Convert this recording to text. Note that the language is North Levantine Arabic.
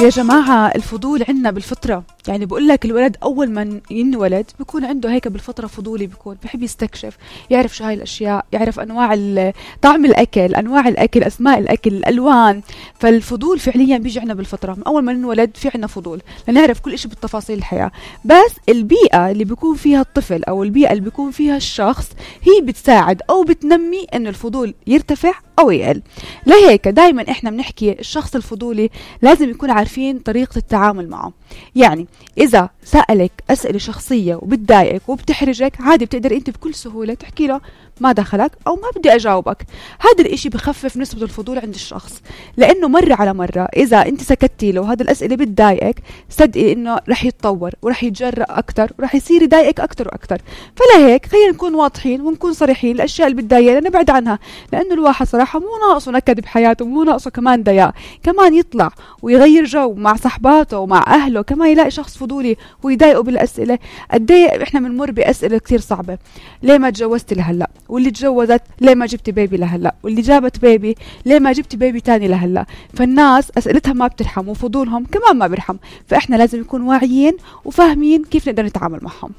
يا جماعة الفضول عنا بالفطرة، يعني بقول لك الولد أول ما ينولد بيكون عنده هيك بالفطرة فضولي، بيكون بحب يستكشف، يعرف شو هاي الأشياء، يعرف أنواع طعم الأكل، أنواع الأكل، أسماء الأكل، الألوان. فالفضول فعليا بيجي عنا بالفطرة، من أول ما ننولد في عنا فضول لنعرف كل إشي بالتفاصيل الحياة. بس البيئة اللي بيكون فيها الطفل أو البيئة اللي بيكون فيها الشخص هي بتساعد أو بتنمي إنه الفضول يرتفع أو يقل. لهيك دايما إحنا بنحكي الشخص الفضولي لازم يكون عارفين طريقة التعامل معه. يعني إذا سألك أسئلة شخصية وبتضايقك وبتحرجك، عادي بتقدر أنت بكل سهولة تحكي له ما دخلك أو ما بدي أجاوبك. هذا الإشي بخفف نسبة الفضول عند الشخص، لأنه مرة على مرة إذا أنت سكتتي له هذا الأسئلة بتضايقك، صدقي إنه رح يتطور ورح يتجرأ أكتر ورح يصير يضايقك أكتر وأكتر. فلهيك خلينا نكون واضحين ونكون صريحين، الأشياء اللي بتضايقنا نبعد عنها، لأنه الواحد صراحة مو ناقصه نكد بحياته، مو ناقصه كمان ضياع، كمان يطلع ويغير جو مع صحباته ومع أهله، كمان يلاقي شخص فضولي ويضايقه بالأسئلة. قديه إحنا بنمر بأسئلة كتير صعبة، ليه ما تجوزت لهلا؟ واللي تجوزت ليه ما جبت بيبي لهلا؟ واللي جابت بيبي ليه ما جبت بيبي تاني لهلا؟ فالناس أسئلتها ما بترحم وفضولهم كمان ما بيرحم، فإحنا لازم نكون واعيين وفاهمين كيف نقدر نتعامل معهم.